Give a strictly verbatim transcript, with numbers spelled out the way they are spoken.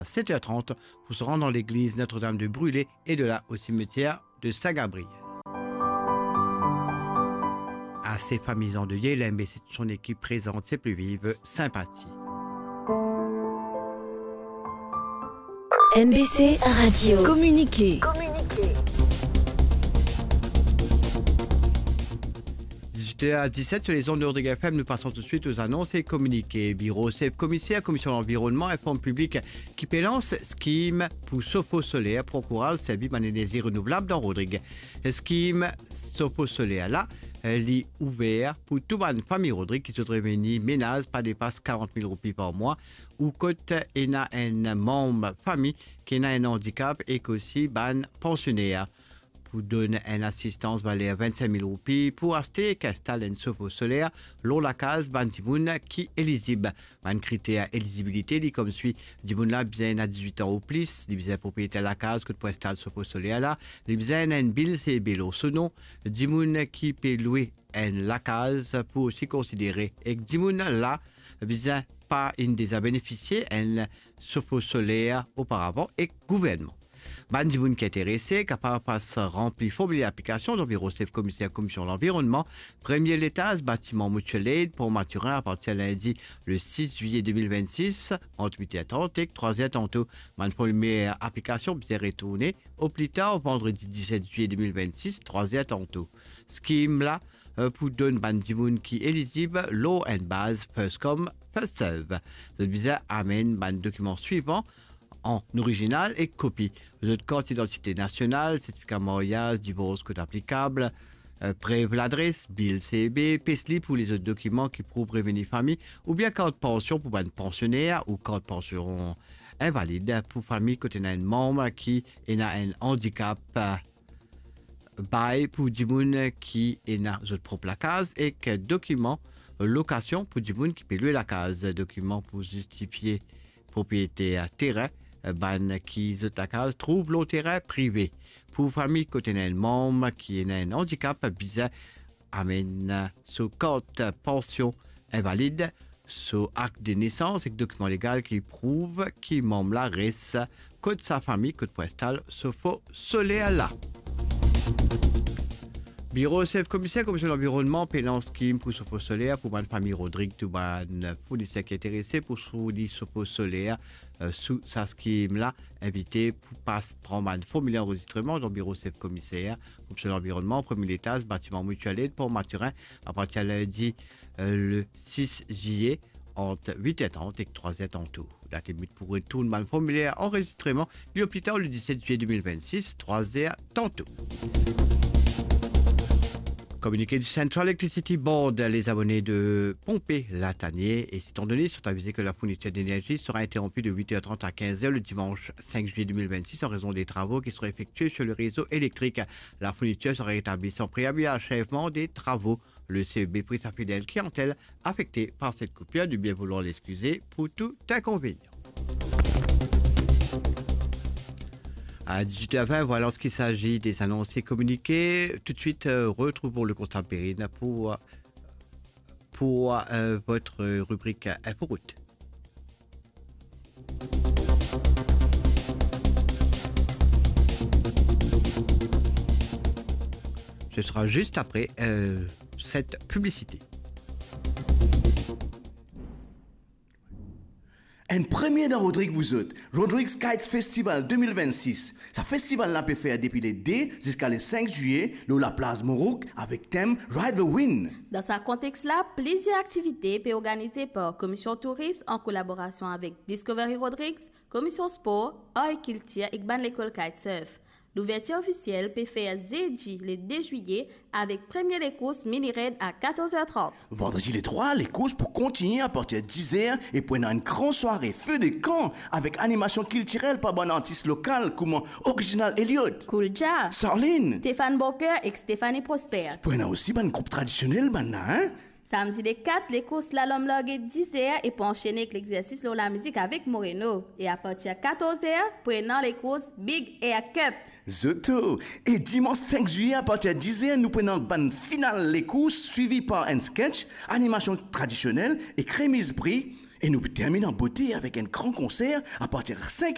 sept heures trente pour se rendre dans l'église Notre-Dame de Brûlé et de là au cimetière de Saint-Gabriel. Ase fami andeyez, l'M B C et son équipe présentent ses plus vives sympathies. M B C Radio. Communiqué. Dix-huit heures dix-sept sur les ondes de Rodrigue F M, nous passons tout de suite aux annonces et communiqués. Biro Sef Komiser Komisyon Lanvironnman inform piblik ki pe lans skim pou sofo soler pou ankouraz servi bann enerzi renouvlab dan Rodrig. Skim sofo soler la, eh, li ouver pou tou bann fami Rodrig ki zot reveni menaz pa depas karant mil roupi par mwa, ou kot ena enn manm fami ki ena enn andikap ek osi bann pansioner. Pou donn enn asistans valer vinn-sink mil roupi pou aste ek instal enn sofo soler lor lakaz bann dimoun ki elizib. Bann kriter elizibilite li koumsa, dimoun la bizin ena dizwit an ou plis, li bizin propriyeter lakaz kot pou instal sofo soler la, li bizin ena enn bil C B lor so non, dimoun ki pe lwe enn lakaz pou osi konsidere, ek dimoun la bizin pa inn deza benefisie enn sofo soler oparavan ek gouvernman. Bann dimoun ki interese kapav pas ranpli formiler aplikasion dan biro sef komiser Komisyon Lanvironnman, premie letaz, batiman Mutual Aid, Pont Mathurin, apartir lindi le sis zwiye de mil vennsis, ant wit er trant ek trwa er tanto. Bann formiler aplikasion bizin retourne o pli tar vandredi diset zwiye de mil vennsis, trwa er tanto. Skim la, eh, pou donn bann dimoun ki elizib lor enn baz first come, first serve. Zot bizin amenn bann dokiman swivan, an orizinal ek kopi zot kart idantite nasional, sertifika maryaz, divors kot aplikab, eh, prev ladres, bil C B, payslip ou lezot dokiman ki prouv reveni fami, oubien kart pansion pou bann pansioner ou kart pansion invalid pou fami kot ena enn manm ki ena enn andikap, eh, bay pou dimoun ki ena zot prop lakaz ek dokiman lokasion pou dimoun ki pe lwe lakaz, dokiman pou zistifie propriete terin, bann ki zot lakaz trouv lor terin prive. Pou fami kot ena enn manm ki ena enn andikap, bizin amenn so kart pansion invalid, so akt de nesans ek dokiman legal ki prouv ki manm la res kot sa fami kot pou instal sofo soler la. Biro sef komiser Komisyon Lanvironnman pe lans skim pou sofo soler pou bann fami Rodrig. Tou bann fourniser ki interese pou fourni sofo soler, eh, sou sa skim la, invite pou pas pran bann formiler anrezistreman dan biro sef komiser Komisyon Lanvironnman, premie letaz, batiman Mutual Aid, Pont Mathurin, apartir lindi, eh, le sis zwiye, ant wit er trant ek trwa er tanto. Dat limit pou retourn bann formiler anrezistreman, li o pli tar le diset zwiye de mil vennsis, trwa er tanto. Communiqué du Central Electricity Board, les abonnés de Pompée, Latanier et Siton-Denis sont avisés que la fourniture d'énergie sera interrompue de huit heures trente à quinze heures le dimanche cinq juillet deux mille vingt-six en raison des travaux qui seront effectués sur le réseau électrique. La fourniture sera rétablie sans préavis à l'achèvement des travaux. Le C E B prie sa fidèle clientèle affectée par cette coupure de bien vouloir l'excuser pour tout inconvénient. À dix-huit heures vingt, voilà en ce qui s'agit des annonces et communiqués. Tout de suite, euh, retrouvons le Constabule Perrine pour, pour, euh, votre rubrique Inforoute. Ce sera juste après, euh, cette publicité. Enn premie dan Rodrig, vouzot, Rodrigues Kites Festival de mil vennsis. Sa festival la pe fer depi le de ziska le sink zwiye lor laplaz Morouk avek tem Ride the Wind. Dan sa kontex la, plizier aktivite pe organize par Komisyon Touris an kolaborasion avek Discovery Rodrigues, Komisyon Spor, Ar ek Kiltir ek bann lekol kitesurf. Louvertir ofisiel pe fer zedi le de zwiye avek premie lekours Mini Raid a katorz er trant. Vandredi le trwa, lekours pou kontigne apartir diz er e pou ena enn gran sware feu de camp avek animasion kiltirel par bann artis lokal kouma Original Elliot, Cool Jah, Sarline, Stéphane Booker ek Stéphanie Prosper. Pou ena osi bann group tradisionel bann la, hein? Samdi le kat, lekours Lalom large diz er e pou ansene ek lexersis lor lamizik avek Moreno. E apartir katorz er, pou ena lekours Big Air Cup. Zoto! E dimans sink zwiye, apartir diz er, nou pou ena bann final lekours, swivi par enn sketch, animasion tradisionel ek remiz pri. E nou pou terminn an bote avek enn gran konser apartir sink